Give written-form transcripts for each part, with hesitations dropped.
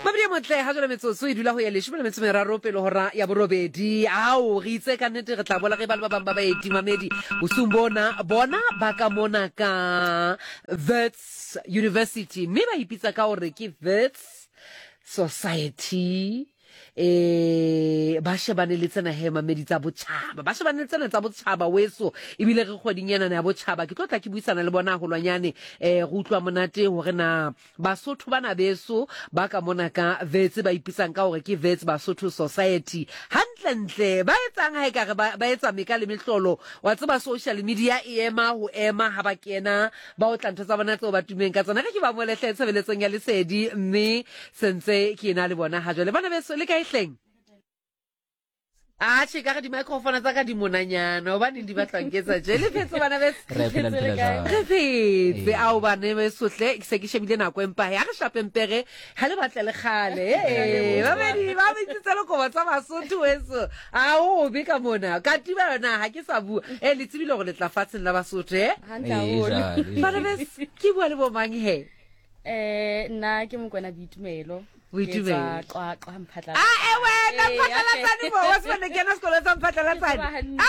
Mabedi motle ha jwale metsotso e dula ho ya leshome le metso meraro pele hora ya borobedi. Ao re itse ka nnete re tla bola re ba le ba bang ba baeti mamedi bosiung bona bona ba ka mona ka Wits University mme ba ipitsa ka hore ke Wits Society. Eh ba shebane le tsena he mamedi tsa botjhaba, ba shebane le tsena tsa botjhaba weso, ebile re kgweding ena ya botjhaba. Ke tlo tla ke buisana le bona haholwanyane, eh re utlwa monate hore na Basotho bana beso ba ka mona ka Wits ba ipitsang ka hore ke Wits Basotho Society hantlentle ba etsang ha ekare ba, ba etsa meka le mehlolo. Wa tseba social media e ema ho ema ha ba kena ba otla ntho tsa bona tseo ba tummeng ka tsona. Re ke ba mole hle tshebeletsong ya lesedi mme sentse ke ena le bona ha jwale. Bana beso le kae hleng? Atjhe, ka re di-microphone tsa ka di monanyana hobaneng di batla nketsa tje. Le phetse bana beso? Re phela, le phela jwang? Re phetse. Ao bana beso hle, ke se ke shebile nako empa he, ha re shape mpere ha le batle le kgale. Ee, babedi ba bitsitse lekobo tsa Basotho weso. A o be ka mona. Katiba yona ha ke sa bua. Eh, le tsebile hore le tla fatsheng la Basotho, eh? Hantle haholo. Ee, jwale. Bana beso, ke bua le bo mang he? Eh, nna ke Mokwena Boitumelo. Boitumelo. Ke tswa Qwaqwa Mphatlala. Ah, eh wena Ee, Mphatlalatsane mo, wa tseba ne kena sekolo sa Mphatlalatsane. Ke tseba hantle.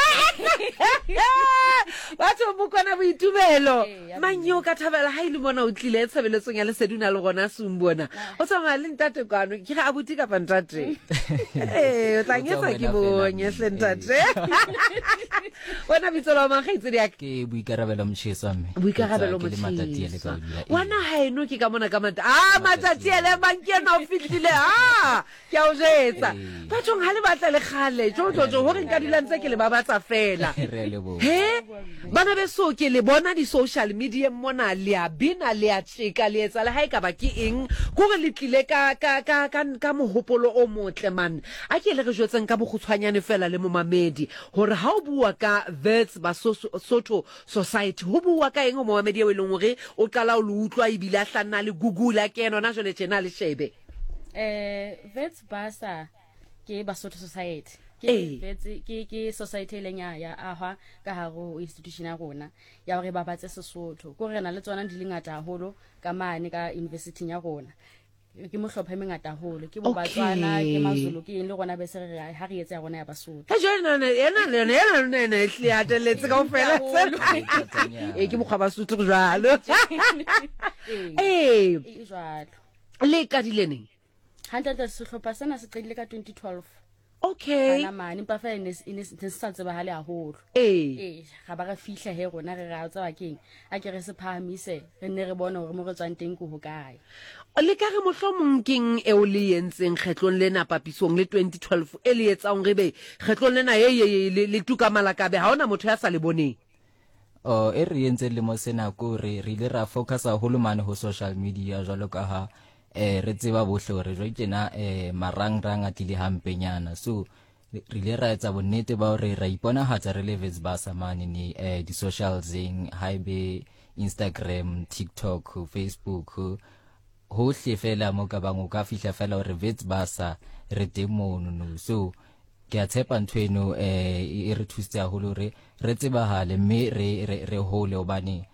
Ah, batho Mokwena Boitumelo. Ee, ya Mang yo ka thabela ha ile mona o tlile tshebeletsong ya lesedi o na le gona Sumbona. O tsamaya le ntate kwano, ke re abuti kapa ntate? Ee, o tla O nketsa tswa ke wena fela, bonye hle ee. ntate. Wena bitso la mang kgaitsedi ya ka? Ke Boikarabelo Motjheswa mme. Boikarabelo Ke le Matatiele ka Motjheswa. hodula, ee. Wa naha eno ke ka mona ka mata. Ah, Matatiele mang ke ena o fihlile. Ah, ke a o jetsa. Ee. Bathong ha le batla le kgale. Jo jo jo hore nka dula ntse ke le babatsa fela. Re a leboha. He? Bana beso ke le bona di social media mona le a bina le a tjeka le etsa le ha e ka ba ke eng. Kore le tlile ka ka ka ka ka mohopolo o motle man. A ke le re jwetseng ka bokgutshwanyane fela le momamedi Hore ha o bua ka Wits Basotho Society, ho buuwa ka eng ho momamedi eo e leng hore o qala ho le utlwa ebile a hlanna a le Google, a kena hona jwale tjena a le shebe? Wits Basa ke Basotho Society. Ke Ee. Wits, ke, ke society e leng ya, ya ahwa ka hare ho institution ya rona ya hore e babatse Sesotho. Ke hore re na le tsona di le ngata haholo ka mane ka university-ing ya rona. Ke mohlopha e mengata haholo, ke bo Batswana, ke Mazulu, ke eng le rona be se re ha re etse ya rona ya Basotho. He jwale nana ena le yona ena lona ena e hlile hatelletse kaofela. Ee, ke mokgwa Basotho go jwalo. Ee. E jwalo. Le qadile neng? Hantle sehlopha sena se qadile ka 2012. Okay. Bana mane, empa fela e ne se sa tsebahale haholo. Ee. Ee, ga ba re fihla he rona re re a tseba keng, a ke re se phahamise, re nne re bone hore mo re tswang teng ke hokae. Le ka re mohlomong keng eo le entseng kgetlong lena papisong le 2012 e le etsang re be kgetlong lena ye ye ye le tuka malakabe ha hona motho ya sa le boneng? Oh, e re entseng lemo sena ko re re ile ra focus haholo mane ho social media jwalo ka ha eh re tseba bohle hore jwale tjena eh marangrang a tlile hampenyana. So re ile ra etsa bonnete ba hore ra iponahatsa re le Wits Basa mane ni eh di socialseng, haebe Instagram, TikTok, Facebook, hohle fela mo ka bang o ka fihla fela hore Wits Basa re teng mono no. So ke a tshepa ntho eno eh e re thusitse haholo hore re tsebahale mme re re re hole hobane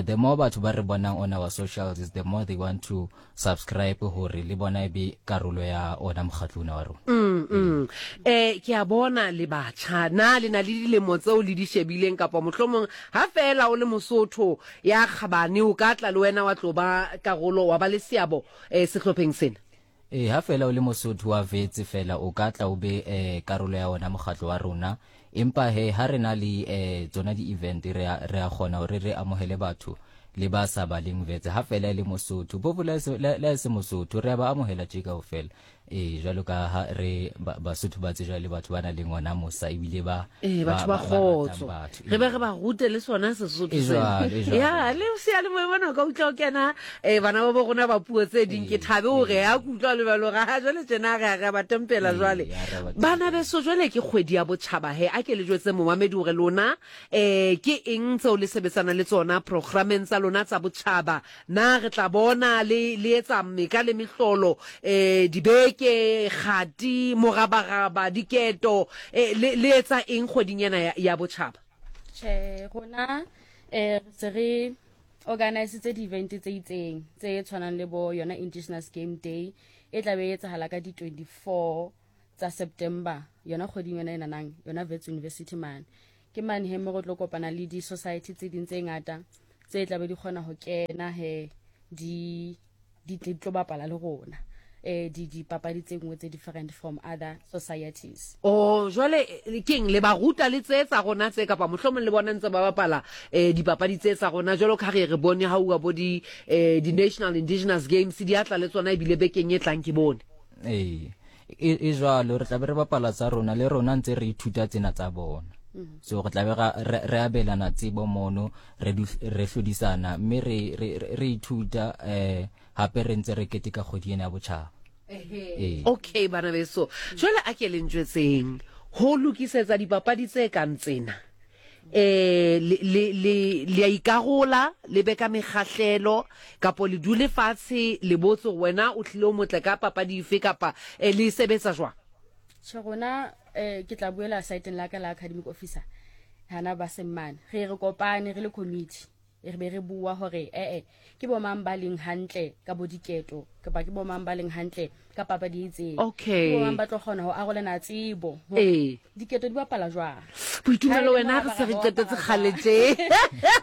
the more batho ba re bonang on our socials is the more they want to subscribe hore le bona e be karolo ya ona mokgatlo ona wa rona. Eh ke a bona le batjha na le na le dilemo tseo le di shebileng kapa mohlomong ha feela o le Mosotho ya kgabane o ka tla le wena wa tlo ba karolo wa ba le seabo eh sehlopheng sena? Ee, ha feela o le Mosotho wa Wits feela o ka tla o be eh, karolo ya ona mokgatlo wa rona. Empa he ha re na le eh, tsona di-event re a, re a kgona hore re amohele batho le ba sa baleng Wits ha feela e le Mosotho. Phofu le ha e se Mosotho re a ba amohela tje kaofela. Ee, jwalo ka ha re ba, Basotho ba tsejwa le batho ba nang le ona mosa ebile ba Ee, batho ba ba, ba ratang kgotso. batho. Re be Ee. re ba rute le sona Sesotho E sena. jwalo, e jwalo. Ya, le seyalemoya mona o ka utlwa o kena eh bana ba bo rona ba puo tse ding ke Ee, thabe hore ee. ha ke utlwa le jwalo hore ha jwale tjena re a re a ba tempela Ee, jwale. ha re a ba Bana tempela. beso jwale ke kgwedi ya botjhaba he a ke le jwetse momamedi hore lona eh ke eng tseo le sebetsana le tsona programmeng tsa lona tsa botjhaba. Na re tla bona le le etsa meka le mehlolo eh dibeke, kgati, morabaraba, diketo eh le le etsa eng kgweding ena ya, ya botjhaba? Tjhe, rona eh re se re organisitse di-event tse itseng tse tshwanang le bo yona Indigenous Game Day e tla be e etsahala ka di-24 tsa September yona kgweding yona e nanang yona Wits University mane. Ke mane he mo re tlo kopana le di-society tse ding tse ngata tse tla be di kgona ho kena he di di tle di tlo bapala le rona eh di dipapadi tse nngwe tse different from other societies. Oh, jwale keng le ba ruta le tse tsa rona tse kapa mohlomong le bona ntse ba bapala eh dipapadi tse tsa rona jwalo ka re re bone ha uwa bo di eh di National Indigenous Games di atla le tsona ebile bekeng e tlang ke bone. Ee, e, e jwalo re tla be re bapala tsa rona le rona ntse re ithuta tsena tsa bona. So re tla be re abelana tsebo mono, re re hlodisana mme re re re ithuta eh hape re ntse re keteka kgwedi ena ya botjhaba. Ee. Okay bana beso, jwale a ke le njwetseng ho lokisetsa dipapadi tse kang tsena eh le le le le a ikarola le be ka mekgahlelo kapo le dule fatshe le botse hore wena o tlile o motle ka papadi efe kapa eh, le e sebetsa jwang? Tjhe rona eh ke tla buela saeteng la ka la academic officer hana ba seng mane re re kopane re le committee re be re bua hore ee ke bo mang ba leng hantle ka bo diketo kapa ke bo mang ba leng hantle ka papadi e itseng. Okay. Ke bo mang ba tlo kgona ho arolana tsebo hore Ee. diketo di bapala jwang. Boitumelo Ha e le wena re se re morabaraba wa qetetse bapala kgale jwang. tje.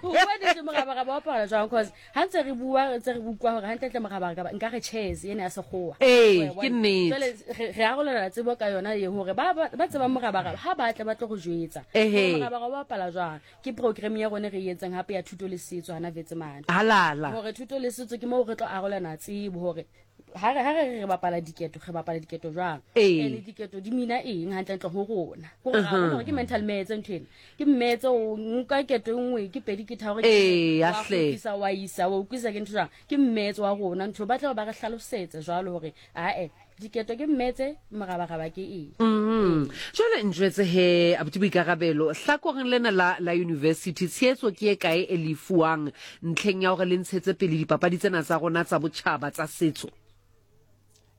Ho bua nnete morabaraba wa bapala jwang cause ha ntse re bua re ntse re utlwa hore hantlentle morabaraba nka re chess ena ya sekgowa. Ee, Wa e ke bona? nnete. Jwale re re arolelana tsebo ka yona e hore ba ba ba tsebang morabaraba ha ba tle ba tlo re jwetsa hore Ehe. morabaraba o bapala jwang. Ke program ya rona e re e entseng hape ya thuto le setso hana Vetsemane. Halala. Hore thuto le setso ke moo re tlo arolana tsebo hore ha re ha re re bapala diketo re bapala diketo jwang. Ee. Ene diketo di mina eng hantlentle ho rona. Ke hore ra bona hore ke mental maths ntho ena. Ke maths o nka keto e nngwe ke pedi ke tharo ke Ee, wa ya hle. kgutlisa wa isa wa utlwisa ke ntho jwang. Ke maths wa rona ntho ba tla ba re hlalosetse jwalo hore ae Diketo ke mmetse, morabaraba ke eng? Mm. Jwale njwetse he, abuti Boikarabelo, hlakoreng lena la, la university, tshehetso ke e kae e le e fuwang ntlheng ya hore le ntshetse pele dipapadi tsena tsa rona tsa botjhaba tsa setso?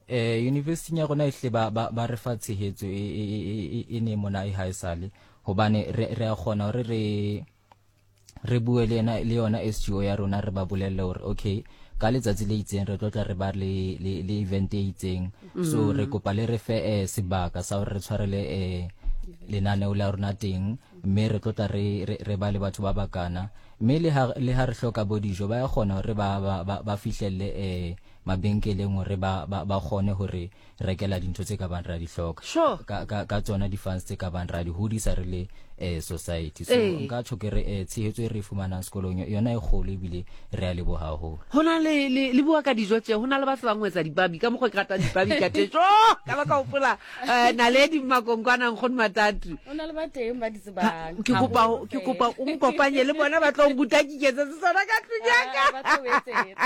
Eh, university ya rona ehle ba, ba, ba re fa tshehetso e, e, e, e, e ne mona e haesale hobane re, re a kgona hore re re bue le yena le yona SGO ya rona re ba bolelle hore okay ka letsatsi le itseng re tlo tla re ba le le, le event e itseng mm. so re kopa le re fe eh, sebaka sa hore re tshwarele eh, lenaneo la rona teng mme re tlo tla re, re, re ba le batho ba bakana mme le ha le ha re hloka bo dijo ba ya kgona hore ba ba, ba, ba fihlelle eh, mabenkeleng hore ba, ba, ba kgone hore rekela dintho tse ka bang ra di hloka Sure. ka, ka, ka tsona di-funds tse ka bang ra di hodisa re le eh, society so Ee. nka tjho ke re eh, tshehetso e re e fumanang sekolong yona e kgolo ebile re a leboha haholo Ho na le, le, le bua ka dijo tje, ho na le ba tsebang ho etsa dipabi, ka mokgwa ke ratang dipabi ka teng. Jo, ka ba ka hopola eh, Naledi Mmakonkwana Nkgono Matatu. O na le ba teng ba di tsebang. Ke kopa, Haholo ke feela. kopa o nkopanye le bona ba tlo nruta ke iketsetse sona ka tlung ya ka. Ah, ba tlo o etsetsa.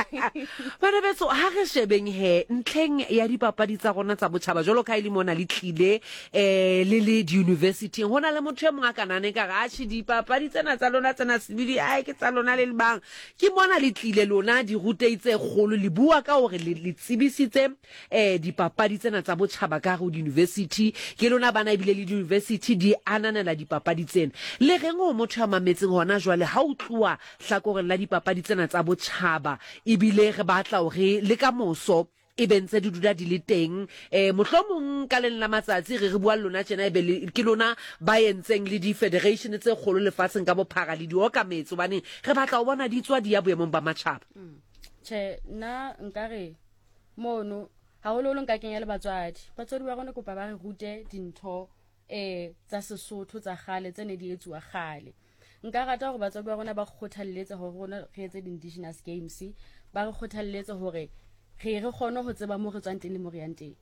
Bana beso, ha re shebeng he ntlheng ya dipapadi tsa rona tsa botjhaba jwalo ka ha e le mona le tlile eh le le di-universityng, ho na le motho e mong a ka nahana ekare atjhe dipapadi tsena tsa lona tsena sebidi ae ke tsa lona le le bang. Ke mona le tlile lona dirutei tse kgolo le bua ka hore le le tsebisitse eh dipapadi tsena tsa botjhaba ka hare ho di-university. Ke lona bana ebile le di-university di ananela dipapadi tsena. Le reng ho motho ya mametseng hona jwale ha o tluwa hlakoreng la dipapadi tsena tsa botjhaba ebile re batla hore le ka moso e be ntse di dula di le teng um mohlomong ka leng la matsatsi re re bua le lona tjena ebe le, ke lona ba entseng le di-federation tse kgolo lefatsheng ka bophara le di okametse hobane re batla ho bona di tswa di ya boemong ba matjhaba. Tjhe, nna nkare mono haholoholo nka kenya le batswadi. Batswadi ba rona kopa ba re rute dintho eh tsa Sesotho tsa kgale tse ne di etsuwa kgale. Nka rata hore batswadi ba rona ba kgothalletse hore rona re etse di-indigenous games, ba re kgothalletse hore re re kgone ho tseba mo re tswang teng le mo re yang teng.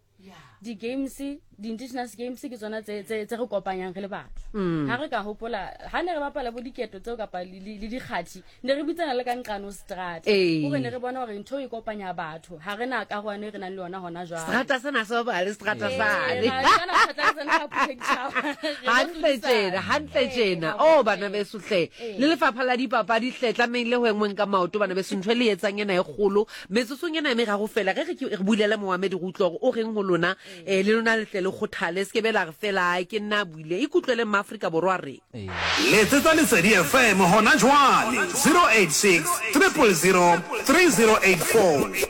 Di-games, di-indigenous games ke tsona tse tse tse re kopanyang re le batho. Ha re ka hopola ha ne re bapala bo diketo tseo kapa le le le dikgathi, ne re bitsana le ka nqane ho seterata. Ee. Hore ne re bona hore ntho e kopanya batho. Ha re na karohano e re nang le yona hona jwale. Seterata sena se bapala le seterata Ee, sane. ra tshwana phatlalatsa le ha Phuthaditjhaba. Re lo Hantle tjena, hlodisana. hantle Ee, tjena. wa Oh bona. bana beso hle. Ee. Le lefapha la dipapadi hle tlamehile ho engweng ka maoto bana beso ntho e le etsang ena e kgolo. Metsotsong ena e meraro feela re re ke re bulele moamedi re utlwe hore o reng ho lona um le lona le tle le kgothale se ke be la re fela ai ke nna a buile ikutlwele maaforika borwa re Letsetsa Lesedi FM hona jwale 086 000 3084.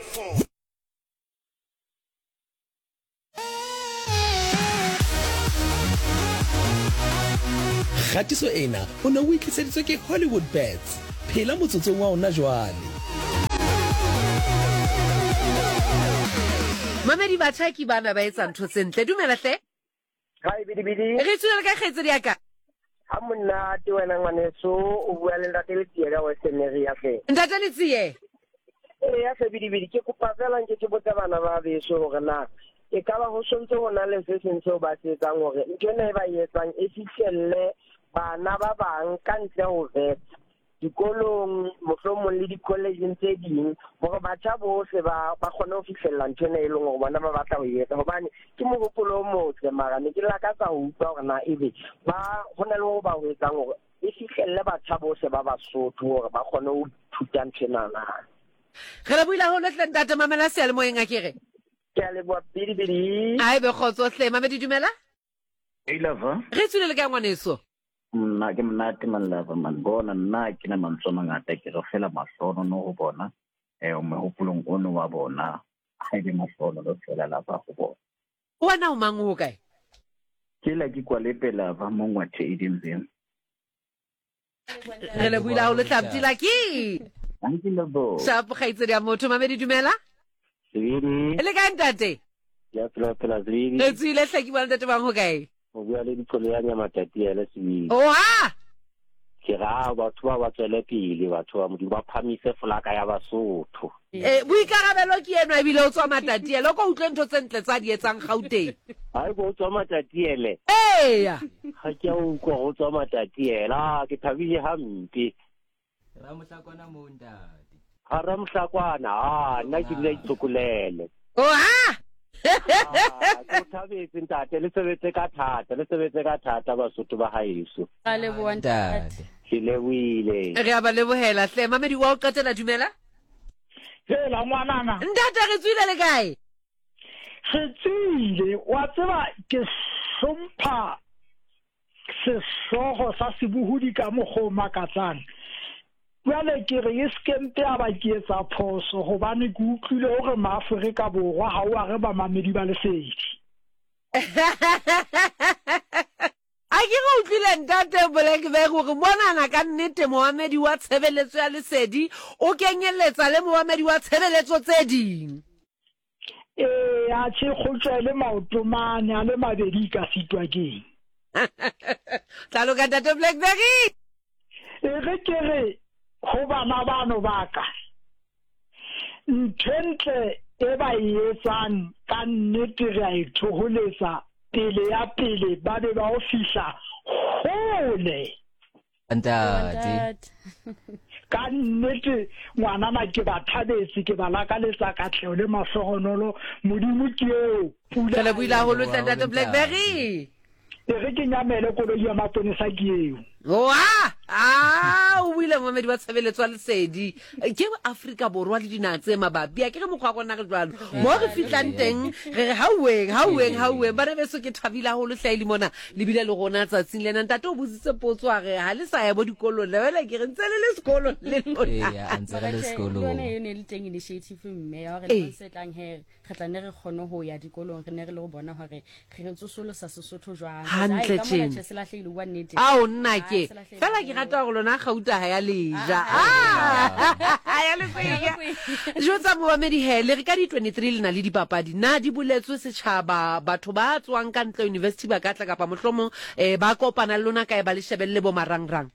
Kgatiso ena o ne o e tliseditswe ke Hollywood Bets. Phela motsotsong wa ona jwale. Mamedi batjha ke bana ba etsa ntho tse ntle. Dumela hle. Hi bidibidi. Re tswile le ka kgaitsedi ya ka. Ha monate wena ngwaneso o bua le ntate Letsie ka Western area hle. Ntate Letsie. Ee ya hle bidibidi ke kopa fela nke ke botse bana ba beso hore na e ka ba ho sontse ho na le se seng seo ba se etsang hore ntho ena e ba e etsang e fihlelle bana ba bang ka ntle ho vet dikolong mohlomong le di-collegeng tse ding hore batjha bohle ba ba kgone ho fihlella ntho ena e leng hore bona ba batla ho e etsa hobane ke mohopolo o motle mara ne ke lakatsa ho utlwa hore na ebe ba ho na le ho ba ho etsang hore e fihlelle batjha bohle ba Basotho hore ba kgone ho ithuta ntho ena na. Re lebohile haholo hle ntate mamela seyalemoyeng a ke re. Ke a leboha bidibidi. A ebe kgotso hle mamedi dumela. Hey lover. Re tswile le kae ngwaneso? Nna ke monate man lover man bona nna ke na mantswe a mangata ke re fela mahlonono ho bona eh mehopolong ono wa bona ha ebe mahlonono fela lava ho bona. Wena o mang o kae? Ke la ke kwalepe lava mo ngwathe Edenville. Re lebohile haholo tlapti laki. Thank you lebo. Shapo kgaitsedi ya motho mamedi dumela. Sebidi. Le kae ntate? Ya phela phela sebidi. Re tswile hle ke bua le ntate bang ho kae? O bua le diqolo ya Nyamatatiele sebidi. Oha! Ke ra batho ba ba tswele pele batho ba Modimo ba phamise folaka ya Basotho. Eh, boikarabelo ke enwa ebile o tswa Matatiele. O ko utlwe ntho tse ntle tsa di etsang Gauteng. Hai bo tswa Matatiele. Eya. Ga ke a utlwa go tswa Matatiele. Ah, ke thabile hampe. Ramohlakwana moo ntate. Ga Ramohlakwana, ah, nna ke dula itshokolele. Oha! Ah, ke o thabetse ntate, le sebetse ka thata, le sebetse ka thata Basotho ba haeso. Ra leboha ntate. Ke lebohile. Re a ba lebohela hle. Mamedi wa o qetela dumela. Hela ngwanana. Ntate re tswile le kae? Re tswile, wa tseba ke hlompha sehlogo sa sebohodi ka mokgwa o makatsang. Bjale ke re e se ke mpe ya ba ke etsa phoso gobane ke utlwile gore Maaforika Borwa ga o a re bamamedi ba lesedi. A ke re utlwile Ntate Blackberg gore monana ka nnete moamedi wa tshebeletso ya lesedi o kenyeletsa le moamedi wa tshebeletso tse ding. Ee, atjhe kgotjwa e le maoto mane a le mabedi e ka sitwa keng? Tla loka Ntate Blackberry. E re ke re ho bana bano ba ka, ntho e ntle e ba e etsang ka nnete re a e thoholetsa pele ya pele ba be ba o fihla hole. Ntate. Ka nnete ngwanana ke ba thabetse, ke ba lakaletsa katleho le mahlohonolo. Modimo ke eo, pula Re lebohile haholo hle Ntate Blackberry. E re ke nyamele koloi ya maponesa ke eo. Oa! A o buile momedi wa tshebeletso ya lesedi. Ke Afrika Borwa le dinaha tse mabapi. A ke re mokgwa wa rona re jwalo. Mo re fihlang teng re re hauweng, hauweng, hauweng. Bana beso ke thabile haholo hle le mona. Le bile le rona tsatsing lena. Ntate o botsitse potso a re ha le sa ya bo dikolong. Le wena ke re ntse le le sekolong le lona. Eya, a ntse re le sekolong. Le yone e ne le teng initiative mme ya hore le se tlang he re tla ne re kgone ho ya dikolong re ne re le go bona hore re tsosolosa Sesotho jwang. Hantle tjena. Se lahlehile bua nnete. Ao nna ke. Fela ke rata hore lona gauta ha ya leja. Ah! Ya le kwenya. Jwetsa momamedi he le re ka di 23 le na le dipapadi. Na di boletswe setjhaba batho ba tswang ka ntle university ba ka tla kapa mohlomong eh ba kopana le lona kae ba le shebelle bo marangrang?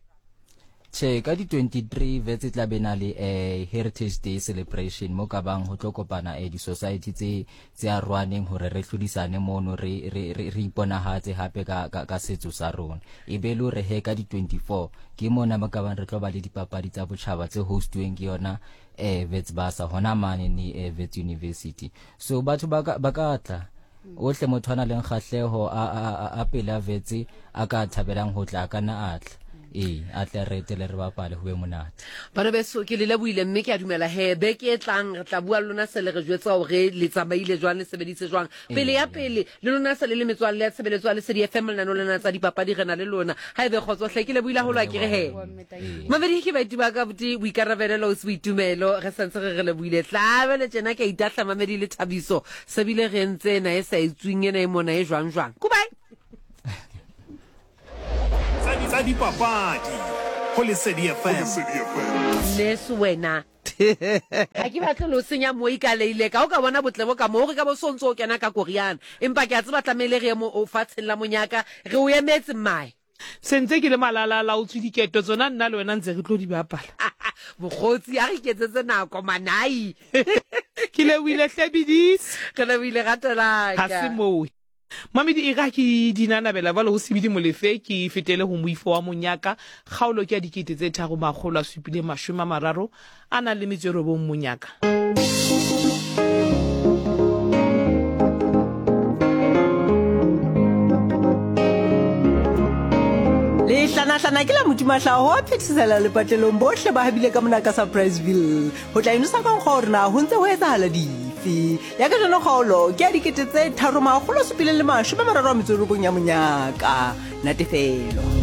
Tjhe, ka di 23 Wits e tla be na le eh, Heritage Day celebration mo ka bang ho tlo kopana eh, di-society tse tse arohaneng hore re hlodisane mono re re re, re iponahatse hape ka, ka, ka setso sa rona. E be le hore he ka di 24 ke mona mo ka bang re tlo ba le dipapadi tsa botjhaba tse hostuweng ke yona eh, Wits Basa hona mane ni eh, Wits University. So batho ba ka ba ka tla ohle motho a na leng kgahleho a a a, a pela Wits a ka thabelang ho tla a ka nna a tla. Ee, a tle a re etele re bapale ho be monate. Bana beso, ke le lebohile mme ke a dumela he beke e tlang re tla bua le lona se le re jwetsa hore le tsamaile jwang, le sebeditse jwang. Pele ya pele, le lona se le le metswalle ya tshebeletso ya Lesedi FM lenaneo lena tsa dipapadi re na le lona. Ha ebe kgotso hle, ke lebohile haholo a ke re he. Mamedi ke baeti ba ka buti boikarabelo le ausi Boitumelo re santse re re lebohile. Tla jwale tjena ke a itahla Mamedi le Thabiso se bile re entse ena e sa etsweng ena e mona e jwang jwang. Goodbye. Tsa dipapadi go Lesedi FM. Nurse wena ga ke batle le o senya moi ka leile ka o ka bona botle bo ka mo re ka bo so ntse o kena ka koriana empa ke a tseba tlamehile re ye mo fatsheng la monyaka re o emetse mmae. Sentse ke le malala-a-laotswe diketo tsona nna le wena ntse re tlo di bapala. Mokgotsi a re iketsetse nako manai. Ke lebohile hle Bidisi. Re lebohile rato la ka. Ha se moo. Mamedi e re ha ke di nanabela jwale ho Sebidi Molefe ke fetele ho moifo wa Monyaka kgaolo ke ya 3739 Monyaka. Lehlanahlana ke la Modimahlaho wa phethesela lepatlelong bohle ba habile ka mona ka Surpriseville ho tla inosa ka nkgwa hore na ho ntse ho etsahala dife. Ya kajeno kgaolo ke ya 3739 ya monyaka. Natefelo.